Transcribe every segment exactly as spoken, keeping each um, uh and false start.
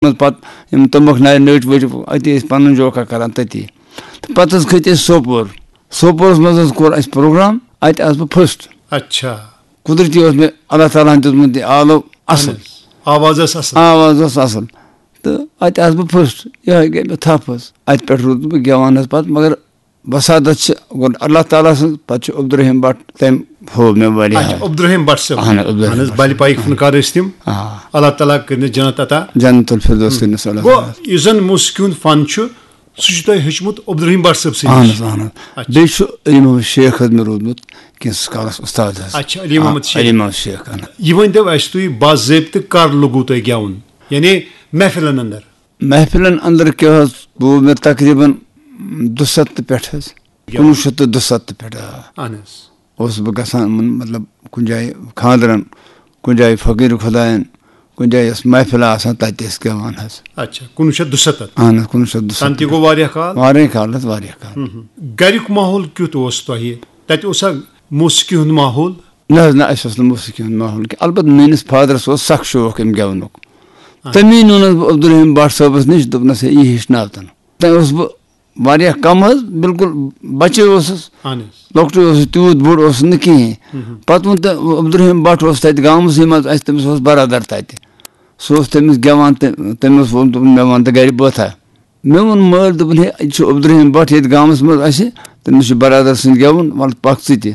منٛز پَتہٕ یِم تُمبَکھ نارِ نٔٹۍ ؤٹۍ، اَتی ٲسۍ پَنُن جوکا کَران تٔتی۔ تہٕ پَتہٕ حظ کھٔتۍ أسۍ سوپور۔ سوپورَس منٛز حظ کوٚر اَسہِ پروگرام، اَتہِ آس بہٕ فٔسٹ۔ اچھا۔ قدرتی اوس مےٚ اللہ تعالیٰ ہَن دیُتمُت یہِ آلو اَصٕل۔ اہن حظ۔ آواز ٲس اَصٕل۔ آواز ٲس اَصٕل۔ تہٕ اَتہِ آس بہٕ فٔسٹ، یِہوٚے گٔے مےٚ تھپھ حظ۔ اَتہِ پٮ۪ٹھ روٗدُس بہٕ گٮ۪وان حظ پَتہٕ، مگر وسادت چھِ گۄڈٕ اللہ تعالیٰ سٕنٛز، پَتہٕ چھُ عبدالرحیٖم بٹ، تٔمۍ ہوو مےٚ واریاہ۔ اچھا، عبدالرحیٖم بٹ صٲب۔ اہن حظ، عبدالرحیٖم اہن حظ، بٹ بَلہِ صٲب۔ پایِکۍ فنکار ٲسۍ تِم۔ آ۔ اللہ تعالیٰ کٔرِنَس جنت عطا۔ جنت الفردوس کٔرِنَس اللہ گوٚو، تعالیٰ۔ یُس زَن موسیقی ہُنٛد فن چھُ، سُہ چھُ تۄہہِ ہیوٚچھمُت عبدالرحیٖم بٹ صٲب سٕے اہن نِش۔ حظ، اہن حظ۔ اچھا۔ بیٚیہِ چھُ علی محمد شیخ حظ مےٚ روٗدمُت کینٛژھس کالَس اُستاد حظ۔ اچھا، علی محمد آ، شیخ۔ علی محمد شیخ، اہن حظ۔ یہِ ؤنۍ تو اَسہِ تُہۍ، باضٲبطہٕ کر لوٚگوُ تۄہہِ گٮ۪وُن؟ یعنی محفلن اندر؟ محفلن اندر کیٛاہ حظ، گوٚو مےٚ تقریباً دُسَتتہٕ پٮ۪ٹھ حظ، گٮ۪وُن۔ کُنوُہ شیٚتھ تہٕ دُسَتتہٕ پٮ۪ٹھ، آ۔ اہن حظ۔ اوسُس بہٕ گژھان یِمَن، مطلب، کُنہِ جایہِ خانٛدرَن، کُنہِ جایہِ فقیٖر خۄدایَن، کُنہِ جایہِ ٲس محفل آسان، تَتہِ ٲسۍ گٮ۪وان حظ۔ اچھا، کُنوُہ شیٚتھ دُسَتتھ۔ اہن حظ، کُنوُہ شیٚتھ دُسَتتھ۔ تَنہٕ تہِ گوٚو واریاہ کال۔ واریاہ کال حظ، واریاہ کال۔ ہُم، ہُم۔ گَریُک ماحول کیُتھ اوس تۄہہِ؟ تَتہِ اوسا موسیقی ہُنٛد ماحول؟ نہ حظ، نہ، اَسہِ اوس نہٕ موسیقی ہُنٛد ماحول کینٛہہ۔ البتہٕ میٛٲنِس فادرَس اوس سَکھ شوق اَمہِ گٮ۪ونُک۔ آ۔ تَمی نیوٗنَس بہٕ عبدالرحیٖم بٹ صٲبَس نِش، دوٚپنَس، "ہے، یہِ ہیٚچھناو تَن۔" تَمہِ اوسُس بہٕ واریاہ کَم حظ، بِلکُل بَچے اوسُس، اہن حظ۔ لۄکٹُے اوسُس، تیوٗت بوٚڑ اوسُس نہٕ کِہیٖنۍ۔ ہُم۔ پَتہٕ ووٚن تہٕ عبدالرحیٖم بٹ اوس تَتہِ گامَسٕے منٛز، اَسہِ، تٔمِس اوس برادر تَتہِ۔ سُہ اوس تٔمِس گٮ۪وان، تہٕ تٔمۍ اوس ووٚنمُت، دوٚپُن، "مےٚ وَن تہٕ گَرِ بٲتھا۔" مےٚ ووٚن مٲلۍ، دوٚپُن، "ہے، یہِ چھُ عبدالرحیٖم بٹ ییٚتہِ گامَس منٛز اَسہِ، تٔمِس چھُ برادر سٕنٛدۍ گٮ۪وُن، وَلہٕ پَکھ ژٕ تہِ۔"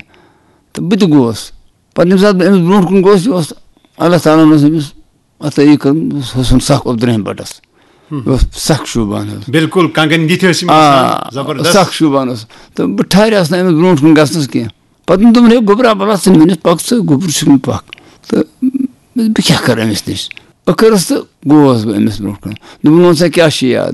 تہٕ بہٕ تہِ گوس۔ پَتہٕ ییٚمہِ ساتہٕ بہٕ أمِس برونٛٹھ کُن گوس، یہِ اوس اللہ تعالیٰ ہَن اوس أمِس عطٲیی کٔرمٕژ، سُہ اوس سَکھ عبدالرحیٖم بٹَس۔ ہُم۔ یہِ اوس سَکھ شوٗبان حظ۔ بِلکُل، کنٛگن یِتھۍ ٲسۍ یِم آ، آسان، زبردست۔ سَکھ شوٗبان اوس۔ تہٕ بہٕ ٹھہریوس نہٕ أمِس برونٛٹھ کُن گژھنَس کینٛہہ۔ پَتہٕ دوٚپُن، "ہے گوٚبرا، بَلا ژٕ مےٚ نِش پَکھ ژٕ، گوٚبُر چھُکھ نہٕ پَکھ۔" تہٕ بہٕ کیٛاہ کَرٕ أمِس نِش؟ ٲخرَس تہٕ گوس بہٕ أمِس برونٛٹھ کُن۔ دوٚپُن، "وَن سا کیٛاہ چھِ یاد؟"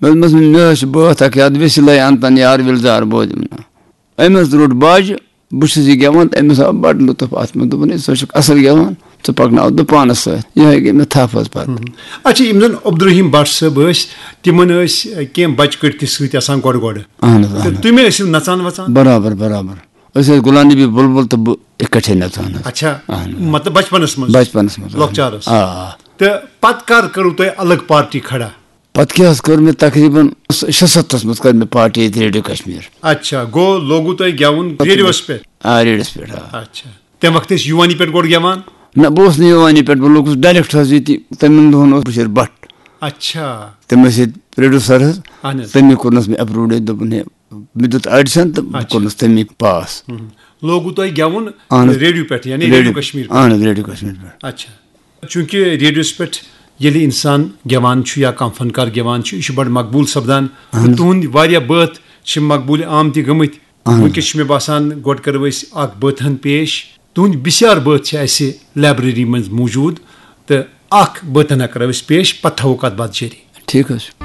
مےٚ دوٚپمَس، "مےٚ حظ چھِ بٲتھ اَکھ یاد، ویسِلَے اَنتَن یار وِلزار بوزِم نا۔" أمۍ حظ روٚٹ باجہِ، بہٕ چھُس یہِ گٮ۪وان تہٕ أمِس آو بَڑٕ لُطُف اَتھ منٛز۔ دوٚپُن، "ہے، ژٕ چھُکھ اَصٕل گٮ۪وان، ژٕ پَکناو دُپانَس سۭتۍ۔" یِہوٚے گٔے مےٚ تھپھ حظ پَتہٕ۔ ہُم۔ اچھا، یِم زَن عبدالرحیٖم بٹ صٲب ٲسۍ، تِمَن ٲسۍ، اَ، کینٛہہ بَچہٕ کٔٹۍ تہِ سۭتۍ آسان گۄڈٕ گۄڈٕ۔ اَہَن حظ، تہٕ اَہَن حظ۔ تُہۍ مہ ٲسِو نَژان وَژان؟ برابر، برابر۔ أسۍ ٲسۍ غلام نبی بُلبُل تہٕ بہٕ اِکٹھے نَژان حظ۔ اچھا، اَہَن حظ۔ مطلب بَچپَنَس منٛز؟ بَچپَنَس منٛز، آ۔ لۄکچارَس؟ آ، آ۔ تہٕ پَتہٕ کَر کٔرٕو تۄہہِ الگ پارٹی کھڑا؟ پتہٕ کیٛاہ حظ کٔر مےٚ تقریباً شُسَتتھَس منٛز کٔر مےٚ پارٹی ییٚتہِ ریڈیو کشمیر۔ اچھا، گوٚو لوگوُ تۄہہِ گٮ۪وُن ریڈیوَس پٮ۪ٹھ؟ آ، ریڈیوَس پٮ۪ٹھ، آ۔ اچھا۔ تَمہِ وقتہٕ ٲسۍ یوٗوانی پٮ۪ٹھ گۄڈٕ گٮ۪وان؟ نہ، بہٕ اوسُس نہٕ یوٗوانی پٮ۪ٹھ، بہٕ لوٚگُس ڈایریکٹ حظ ییٚتی، تَمہِ دۄہَن اوس بشیٖر بٹ۔ اچھا۔ تٔمۍ ٲسۍ ییٚتہِ پروڈیوسر حظ، اہن حظ۔ تٔمی کوٚرنَس مےٚ اپروڈ ییٚتہِ، دوٚپُن، "ہے، مےٚ دیُت آڈیشن تہٕ بہٕ اچھا۔ کوٚرنَس تٔمی پاس۔" ہُم۔ لوگوُ تۄہہِ گٮ۪وُن اہن حظ۔ ریڈیو پٮ۪ٹھ، یعنی ریڈیو ریڈیو، کشمیر پٮ۪ٹھ؟ اہن حظ، ریڈیو کشمیر پٮ۪ٹھ۔ اچھا۔ چوٗنٛکہِ ریڈیوَس پٮ۪ٹھ ییٚلہِ اِنسان گٮ۪وان چھُ یا کانٛہہ فنکار گٮ۪وان چھُ، یہِ چھُ بَڑٕ مقبوٗل سپدان۔ اہن تہٕ حظ۔ تُہٕنٛدۍ واریاہ بٲتھ چھِ مقبوٗل عام تہِ گٔمٕتۍ۔ اہن حظ۔ وٕنکیٚس چھِ مےٚ باسان، گۄڈٕ کَرو أسۍ اَکھ بٲتھ ہَن پیش۔ تُہٕنٛدۍ بِسیار بٲتھ چھِ اَسہِ لایبرٔری منٛز موٗجوٗد، تہٕ اَکھ بٲتھ ہَنا کَرو أسۍ پیش، پَتہٕ تھاوو کَتھ باتھ جٲری۔ ٹھیٖک حظ چھُ۔